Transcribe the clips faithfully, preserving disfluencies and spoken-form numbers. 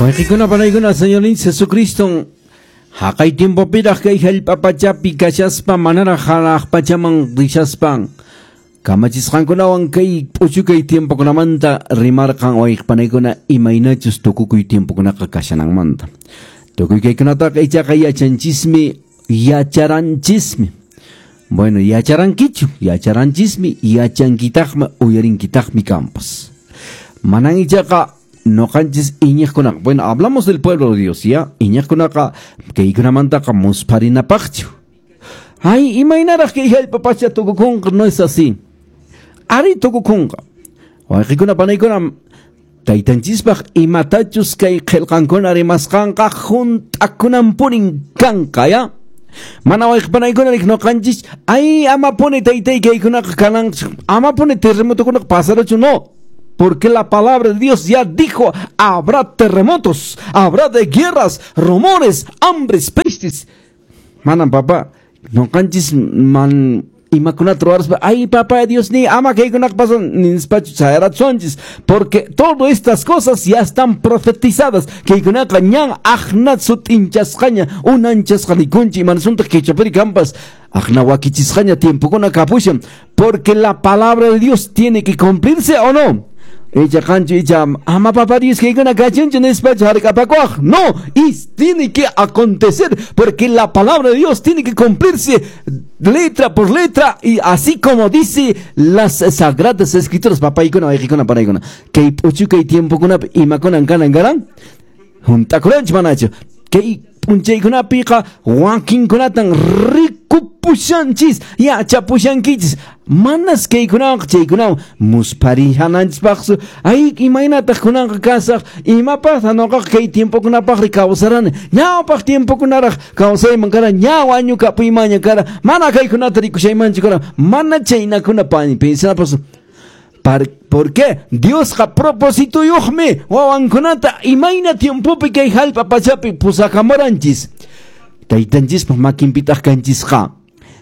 Wayqikuna panaykuna Señorninchis Jesucristo haqay tiempopiraq kay hallp'a pachapi kashaspa manaraq hanaq pachaman rishaspan kamachisqankunawan kay p'uchukay tiempokunamanta rimarqan wayqipanaykuna imaynachus tukukuy tiempokunaqa kashananmanta. Tukuy kaykunataqa ichaqa yachanchismi yacharanchismi. Bueno, yacharankichu, yacharanchismi, yachankitaqmi, uyarinkitaqmi kampas. Manan ichaqa noqanchis iñiqkunaqa. Bueno, hablamos del pueblo de Dios, ¿ya? Iñiqkunaqa kaykunamantaqa muspharinapaqchu. Ay, imaynaraq kay hallp'a pacha tukukunqa, no es así. Ari tukukunqa. Wayqikuna panaykuna taytanchispaq imatachus kay qillqankuna rimasqanqa hunt'akunanpunin kanqa, ¿ya? Mana wayqipanaykuna rik noqanchis, ay, amapuni taytay kaykunaqa kanan, amapuni terremotokunaqa pasaruchu, no. Porque la palabra de Dios ya dijo, habrá terremotos, habrá de guerras, rumores, hambres, pestes. Manan papá, noqanchis man imakunata ruwaraspa, ay papá Dios ni ama kaykunaqa pasan nispachu chayarasunchis, porque todas estas cosas ya están profetizadas. Kaykunaqa ñan aqna sut'inchasqaña, unanchasqa nikunchik, imanasunta quechapiri kampas, aqna wakichisqaña tiempokuna kapushan, porque la palabra de Dios tiene que cumplirse o no. Icha qanchu icha ama papá Dios kaykuna kachunchu nispachu hark'apakuwaq. No, y tiene que acontecer, porque la palabra de Dios tiene que cumplirse letra por letra, y así como dice las sagradas escrituras. Papaykuna wayqikuna panaykuna kay p'uchukay tiempokunapi imakunan kanan karan hunt'akuranchu manachu kay p'unchaykunapiqa wakinkunatan rikupushanchis yachapushankichis manas kaykunawanqa chaykunawan musparihananchispaqsu. Ay, imaynataq kunanqa kasaq, imapaqtaq noqaqa kay tiempokunapaqri kawsarani, ñawpaq tiempokunaraq kawsayman kara, ña wañukapuymanña kara, mana kaykunata rikushaymanchu kara, mana chaynakuna pensanapas. ¿Por qué? Diosqa propósitoyuqmi wawankunata imayna tiempopi kay hallp'a pachapi pusakamuranchis. Taytanchispaq makinpitaq kanchisqa.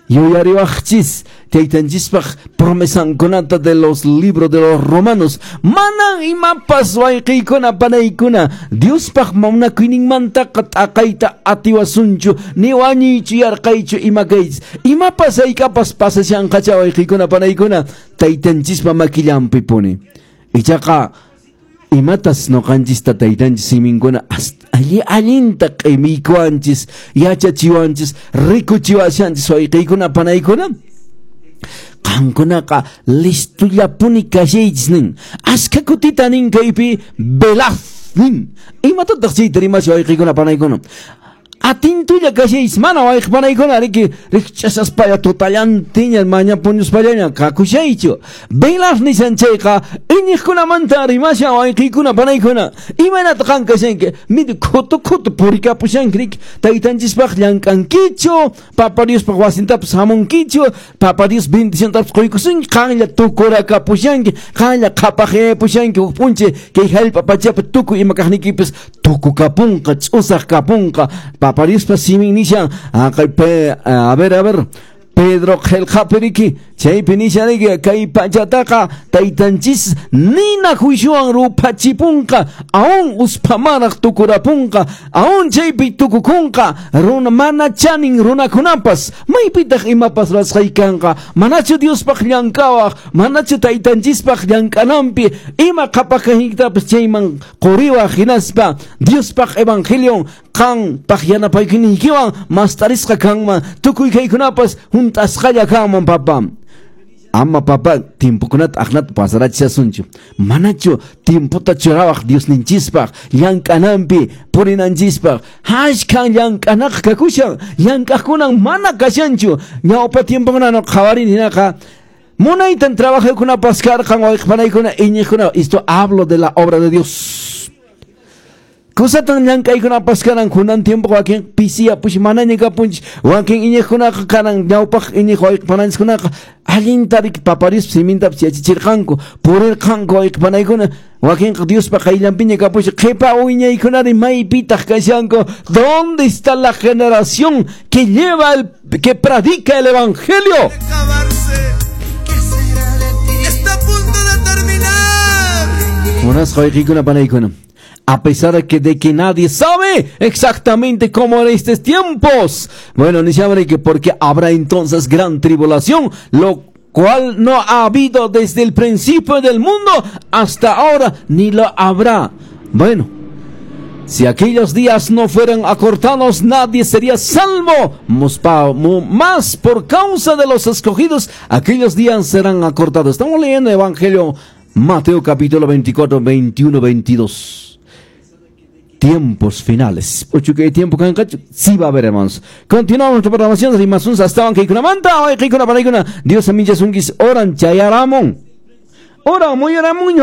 Yuyariwaqchis taytanchispaq promesankunata de los libros de los romanos. Manan imapas wayqiykuna panaykuna Diospaq munakuyninmantaqa t'aqayta atiwasunchu, ni wañuychu yarqaychu ima kaychis. Imapas haykapas pasashanqacha wayqiykuna panaykuna taytanchispa makillanpi puni. Ichaqa imatas noqanchista taytanchis siminkuna alli allinta q'imiykuwanchis, yachachiwanchis, rikuchiwashanchis wayqiykuna panaykuna. Qankunaqa listullapuni kashaychis nin. Ashka kutita nin kaypi velaz nin. Imatataq chayta rimasha wayqiykuna panaykuna? Atintulla kashaychis, mana wayqipanaykuna riki rikch'asaspalla tutallantiña maña puñuspallaña kakushaychu. Velaz nishan chayqa iñiqkunamanta rimashan wayqiykuna panaykuna. Imaynata qan kashanki? Midi khutu khutu purikapushanki riki taytanchispaq llank'ankichu, papa Diospaq wasintapas hamunkichu, papa Dios bendiciontapas quykusunki, qanlla tukurakapushanki, qanlla qhapaqyapushanki huk p'unchay kay hallp'a pachapi tukuy ima kaqniykipis tukukapunqa, ch'usaq kapunqa. Papa Diospa simin nishan, a ver, a ver, Pedro qillqapi riki, chaypi nishan riki, kay pachataqa taytanchis nina juiciowan ruphachipunqa, aún usphamaraq tukurapunqa, aún chaypi tukukunqa, runa mana chanin runakunapas, maypitaq imapas ruwasqay kanqa, manachu Diospaq llank'awaq, manachu taytanchispaq llank'ananpi, ima qhapaqkaytapas chayman quriwaq hinaspa Diospaq evangelion qanpaq yanapaykuyninkiwan mastarisqa kanman, tukuy kaykunapas hunt'asqalla kanman papa. Ama papa tiempokunata aqnata pasarachisasunchu. Manachu tiempota churawaq Diosninchispaq llank'ananpi purinanchispaq. Ashkan llank'anaqa kakushan, llank'aqkunan mana kashanchu. Ñawpa tiempokuna no qhawarini hinaqa munaytan trabajaykunapas karqan wayqipanaykuna iñiqkuna. Esto hablo de la obra de Dios. Kusatan llank'aykunapas karan kunan tiempo wakin pisiyapush manaña kapunchis, wakin iñiqkunaqa karan ñawpaq iñiq wayqipananchiskunaqa allinta riki papa Diospa simintapas yachachirqanku, purirqanku wayqipanaykuna, wakinqa Diospa qayllanpiña kapush, qhipa wiñaykunari maypitaq kashanku. ¿Dónde está la generación que lleva el, que predica el evangelio? Está a punto de terminar. Munasqa wayqikuna panaykuna. A pesar de que, de que nadie sabe exactamente cómo eran estos tiempos. Bueno, ni sabe que porque habrá entonces gran tribulación, lo cual no ha habido desde el principio del mundo hasta ahora, ni lo habrá. Bueno, si aquellos días no fueran acortados, nadie sería salvo. Mas por causa de los escogidos, aquellos días serán acortados. Estamos leyendo el Evangelio Mateo capítulo veinticuatro, veintiuno, veintidós. Tiempos finales. Ocho que tiempo sí va a haber, hermanos. Continuamos nuestra programación. Rimasunsa estaban que manta, Dios amichasunkichis horan chayaramun. Hora muy hora muy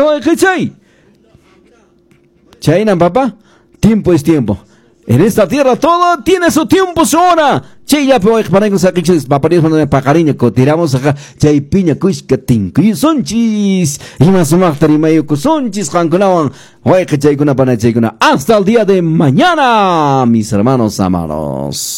Chayna papá. Tiempo es tiempo. En esta tierra todo tiene su tiempo, su hora. Chayllapi wayqi saqichis papá Dios paqariña kutiramos acá chaypiña kushka tinkuyusunchis ima sumaqta rimayukusunchis qankunawan wayqi chaykuna pana chaykuna. Hasta el día de mañana, mis hermanos amados.